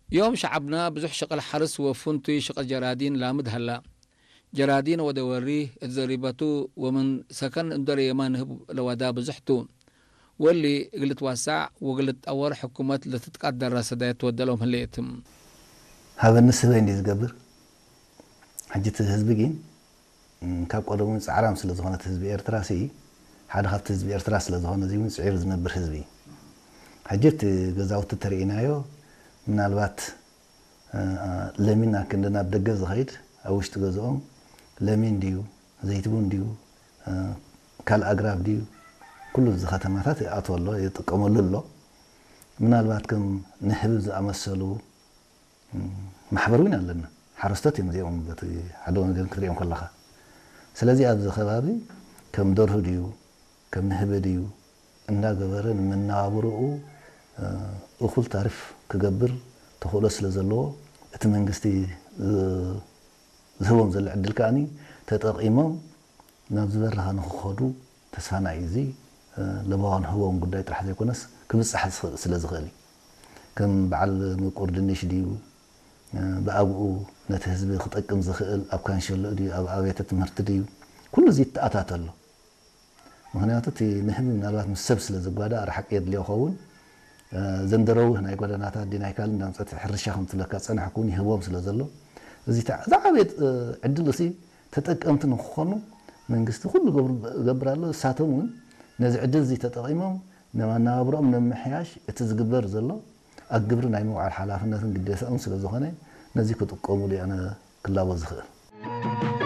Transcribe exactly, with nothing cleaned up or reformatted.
ዮም ሸዐብና ብዙሕ ሸቅል ሐርስ ወፍንቱይ ሸቅል ጀራዲን ላምድ ሀላ። ጀራዲን ወደ ወሪ እት ዘሪበቱ ወምን ሰከን እንዶ ረየመ ንህብ ለወዳ ብዙሕ ቱ። ወሊ እግል ልትወሳዕ ወእግል ልትጠወር ሕኩመት ለትትቀደረ ሰዳየት ትወደሎም ህሌት። ሀበኒ ስበይ እንዴ ዝገብር፣ ሕጂ እቲ ህዝቢ ግን እም፣ ካብ ቀደሙ ጻዕራም ስለ ዝኾነ እቲ ህዝቢ ኤርትራ ሲ፣ ሓደ ካብቲ ህዝቢ ኤርትራ ስለ ዝኾነ፣ እዚ እውን ጽዒሩ ዝነብር ህዝቢ። ሕጂ እቲ ገዛውቲ ተርእይናዮ፣ ምናልባት፣ እ፣ ለሚን ኣክንዲ ናብ ደገ ዝኸይድ፣ ኣብ ውሽጢ ገዝኦም ለሚን ድዩ፣ ዘይትቡን ድዩ፣ እ፣ ካልእ ኣግራብ ድዩ፣ ኩሉ እዚ ከተማታት ይኣትዎ ኣሎ፣ ይጥቀመሉ ኣሎ። ምናልባት ከም ንህቢ ዝኣመሰሉ ማሕበር እውን ኣለና። ሓረስቶት እዮም እዚኦም፣ በቲ ሓደ ወገን ክትሪኦም ከለኻ። ስለዚ ኣብዚ ከባቢ ከም ደርሁ ድዩ፣ ከም ንህቢ ድዩ እንዳገበረ ንመነባብሮኡ፣ እ፣ እኹል ታሪፍ ክገብር ተኽእሎ ስለ ዘለዎ፣ እቲ መንግስቲ ዝ-፣ ዝህቦም ዘሎ ዕድል ከኣኒ ተጠቒሞም ናብ ዝበረኸ ንክኸዱ ተስፋና እዩ። እዚ፣ እ፣ ለበዋን ህቦም ጉዳይ ጥራሕ ዘይኮነስ፣ ክብጻሕ ዝኽእል ስለ ዝኽእል እዩ። ከም በዓል ምቁር ድንሽ ድዩ፣ እ፣ ብኣግኡ ነቲ ህዝቢ ክጠቅም ዝኽእል ኣብ ካንሸሎ ድዩ፣ ኣብ ኣብያተ ትምህርቲ ድዩ፣ ኩሉ እዚ ይተኣታተ ኣሎ። ምኽንያቱ እቲ ንህቢ ምናልባት ምስ ሰብ ስለ ዝጓዳእ ርሓቅ የድልዮ ይኸውን። እ፣ ዘንደረውህ ናይ ጎደናታት ድዩ ናይ ካልእ እንዳምጸት ሕርሻ ከም ትብለካ ዝጸንሐ ክውን ይህቦም ስለ ዘሎ፣ እዚ ተዓ-፣ ዝዓበየ፣ እ፣ ዕድል እሲ ተጠቀምቲ ንክኾኑ መንግስቲ ኩሉ ገብር-፣ ገብር ኣሎ። እሳቶም እውን ነዚ ዕድል እዚ ተጠቒሞም ንመናብሮኦም ንምምሕያሽ እቲ ዝግበር ዘሎ ኣብ ግብሪ ናይ ምውዓል ሓላፍነትን ግዴታኦም ስለ ዝኾነ ነዚ ክጥቀሙሉ እየ ኣነ ክላቦ ዝኽእል።